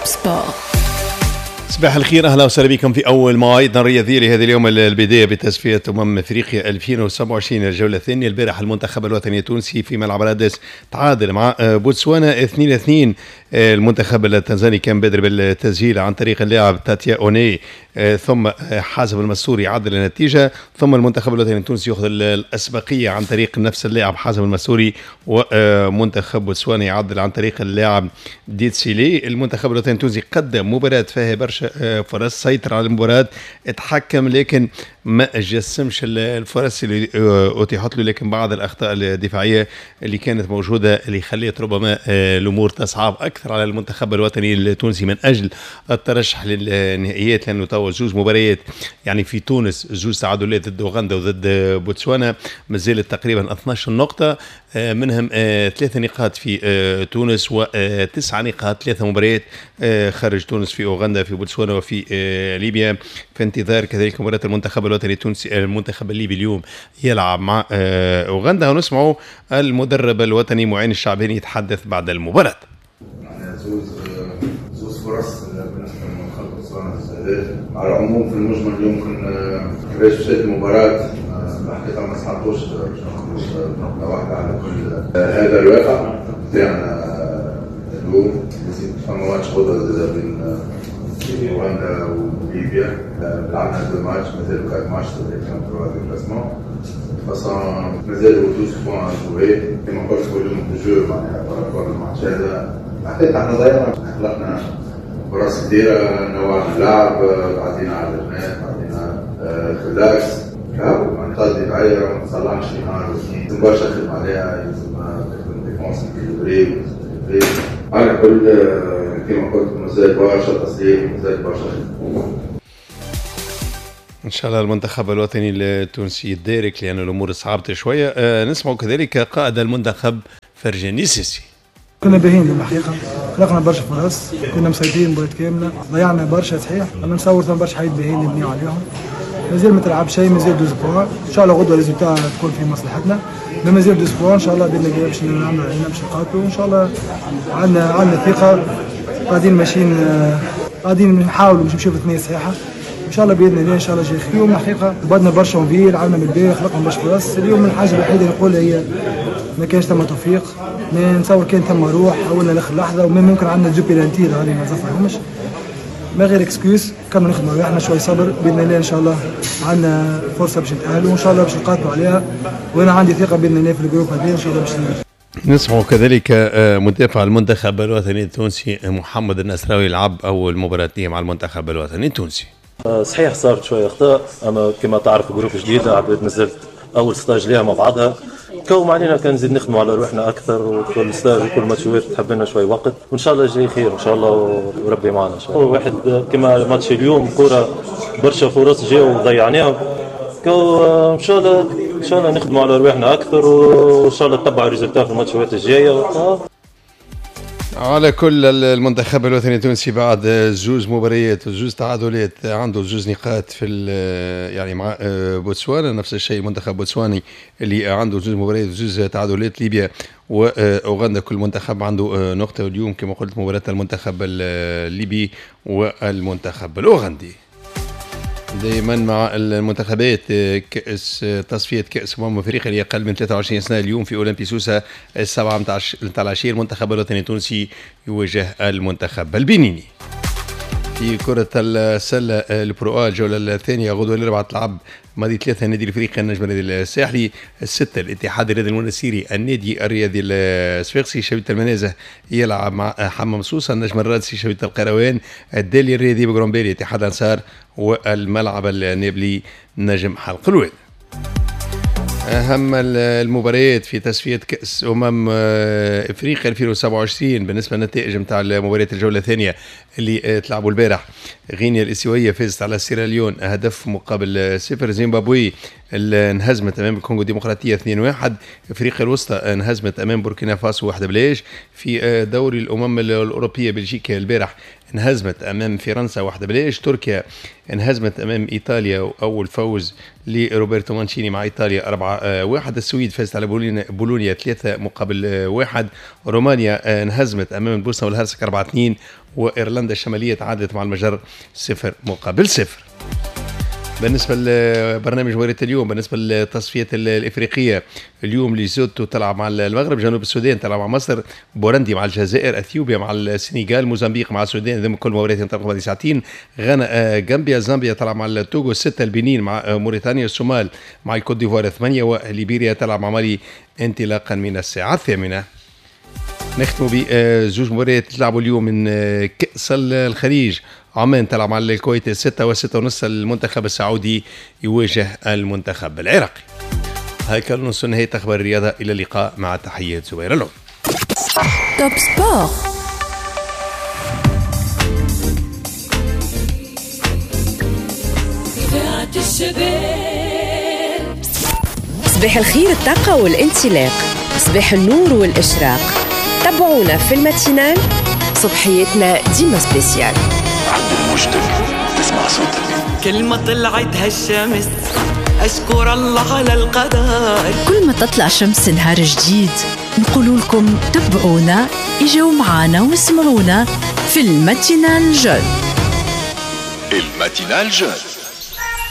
Top Sport. صباح الخير، اهلا وسهلا بكم في اول مواعيدنا الرياضية لهذا اليوم. البداية بتصفية افريقيا 2027، الجولة الثانيه. البارح المنتخب الوطني التونسي في ملعب رادس تعادل مع بوتسوانا 2-2. المنتخب التنزاني كان بادر بالتسجيل عن طريق اللاعب تاتيا اوني، ثم حازم المستوري عدل النتيجه، ثم المنتخب الوطني التونسي ياخذ الاسبقيه عن طريق نفس اللاعب حازم المستوري، ومنتخب بوتسوانا يعدل عن طريق اللاعب ديتسيلي. المنتخب الوطني التونسي قدم مباراة فيها برشا فرص، سيطر على المباراة، اتحكم، لكن ما جسمش الفرص اللي اتيحت له، لكن بعض الاخطاء الدفاعية اللي كانت موجودة اللي خلت ربما الامور تصعب اكثر على المنتخب الوطني التونسي من اجل الترشح للنهائيات، لانه توا زوج مباريات يعني في تونس، زوج تعادلات ضد اوغندا وضد بوتسوانا، مازالت تقريبا 12 نقطه، منهم 3 نقاط في تونس وتسع نقاط 3 مباريات خارج تونس، في اوغندا، في بوتسوانا وفي ليبيا. في انتظار كذلك مباراة المنتخب الوطني التونسي، المنتخب الليبي اليوم يلعب مع اوغندا، ونسمعوا المدرب الوطني معين الشعباني يتحدث بعد المباراه. زوز فرص بالنسبة للمنتخب بوتسوانا. على العموم، في المجمل يمكن كيفاش مشات المباراه، الحقيقة ما ساعدوش باش نخرج بنقطة واحده. على كل، هذا الواقع تاعنا اليوم. فما ماتش غدوه بين اوغندا وليبيا. لعبنا deux matchs، مازالوا quatre matchs، trois déplacements. façon مازالوا 12 points à jouer. كما قلت، volume de jeu معناها par rapport الماتش هذا، الحقيقة احنا ضيعنا، خلقنا فرص كثيرة، نوعنا اللعب، عدينا على الجناح، عدينا في l'axe. معناتها الدفاعية ما تصلحش نهار واثنين، لازم برشا خدمة عليها، لازم تخدم défense équilibrée. على كل، كما قلت، مازال برشا تصليح، مازال برشا خدمة. ان شاء الله المنتخب الوطني التونسي يدارك، لان الامور صعبت شويه. نسمع كذلك قائد المنتخب فرجاني ساسي. كنا باهين الحقيقه، خلقنا برشا فرص، كنا مسيطرين مباراة كاملة، ضيعنا برشا صحيح، اما نصور ثم برشا حاجات باهيين نبنيو عليهم. مازال ما تلعب شيء، مازال 12 points. ان شاء الله غدوه résultat تكون في مصلحتنا. مازال 12 points، ان شاء الله باذن الله باش نعملوا علينا باش نقاتلوا. ان شاء الله عندنا ثقه، قاعدين ماشيين، قاعدين نحاولوا باش نمشيو في ثنيه صحيحه. ان شاء الله باذن الله، ان شاء الله جاي خير. اليوم الحقيقة بدنا برشا envie، لعبنا بالباهي، خلقنا برشا فرص. اليوم الحاجة الوحيدة اللي نقولها هي ما كانش ثم توفيق. نتصور كان ثم روح حاولنا لاخر لحظه، وممكن عندنا deux pénaltys هذه ما زفرهمش، ما غير excuse. كنا نخدموا احنا، شوي صبر، باذن الله ان شاء الله عندنا فرصة باش نتاهلوا، وان شاء الله باش نقاتلوا عليها، وانا عندي ثقة باذن الله في ال groupe هذا، ان شاء الله باش نسمع كذلك مدافع المنتخب الوطني التونسي محمد النصراوي، لعب اول مباراة مع المنتخب الوطني التونسي. صحيح صارت شوية اخطاء، اما كما تعرف groupe جديده، عباد مازالت اول stage ليها مع بعضها. كو علينا كان نزيد نخدموا على روحنا اكثر، وكل stage وكل ماتشات تحب لنا شوي وقت، وان شاء الله جاي خير ان شاء الله وربي معنا ان شاء الله. واحد كما ماتش اليوم، كره برشا فرص جاوا وضيعناهم. كو ان شاء الله، ان شاء الله نخدموا على روحنا اكثر، وان شاء الله نتبعوا résultat في الماتشات الجايه. على كل، المنتخب الوطني التونسي بعد زوز مباريات وزوز تعادلات عنده زوز نقاط في يعني مع بوتسوانا. نفس الشيء المنتخب بوتسواني اللي عنده زوز مباريات وزوز تعادلات. ليبيا واوغندا كل منتخب عنده نقطه. اليوم كما قلت مباراة المنتخب الليبي والمنتخب الاوغندي. دائما مع المنتخبات، كأس تصفية كأس أمم أفريقيا لأقل من 23 سنة، اليوم في أولمبي سوسة 7 متاع العشية المنتخب الوطني التونسي يواجه المنتخب البنيني. في كرة السلة ال Pro A، الجولة الثانية غدوة الأربعاء تلعب ماضي 3 النادي الافريقي النجم الرياضي الساحلي، 6 الاتحاد الرياضي المنستيري النادي الرياضي الصفاقسي، شبيبة المنازه يلعب مع حمام سوسة، النجم الرادسي شبيبة القيروان، الدالي الرياضي بقرمبالية اتحاد انصار، والملعب النابلي نجم حلق الواد. اهم المباريات في تصفية كاس افريقيا 2027 بالنسبة للنتائج نتاع المباريات الجولة الثانية اللي تلعبوا البارح: غينيا الاستوائيه فازت على سيراليون هدف مقابل صفر، زيمبابوي انهزمت امام الكونغو الديمقراطية 2-1. افريقيا الوسطى انهزمت امام بوركينا فاسو 1-0. في دوري الامم الاوروبية بلجيكا البارح انهزمت امام فرنسا 1-0. تركيا انهزمت امام ايطاليا، واول فوز لروبرتو مانشيني مع ايطاليا 4-1. السويد فازت على بولونيا 3-1. رومانيا انهزمت امام البوسنة والهرسك 4-2. وايرلندا الشمالية تعادلت مع المجر 0-0. بالنسبة لبرنامج مباراة اليوم، بالنسبة للتصفيات الافريقية اليوم، ليزوتو تلعب مع المغرب، جنوب السودان تلعب مع مصر، بورندي مع الجزائر، اثيوبيا مع السنغال، موزمبيق مع السودان، ذم كل مباريات ينطلقوا بعد ساعتين. غانا غامبيا، زامبيا تلعب مع التوغو 6، البنين مع موريتانيا، الصومال مع الكوت ديفوار 8، وليبيريا تلعب مع مالي انطلاقا من الساعة 8. نختم بزوج مباريات تلعبوا اليوم من كأس الخليج. عمان تلعب مع الكويت 6 و6:30، المنتخب السعودي يواجه المنتخب العراقي. هيك نوصل نهاية أخبار الرياضة، إلى اللقاء مع تحيات زبير اللون. Top Sport. صباح الخير، الطاقة والانطلاق، صباح النور والإشراق. تابعونا في ال matinale، صبحيتنا ديما spéciale. عدل موجتك تسمع صوتك. كل ما طلعت هالشمس أشكر الله على القدر. كل ما تطلع شمس نهار جديد نقول لكم تبعونا، اجوا معانا واسمعونا في ال matinale jeune. ال matinale jeune.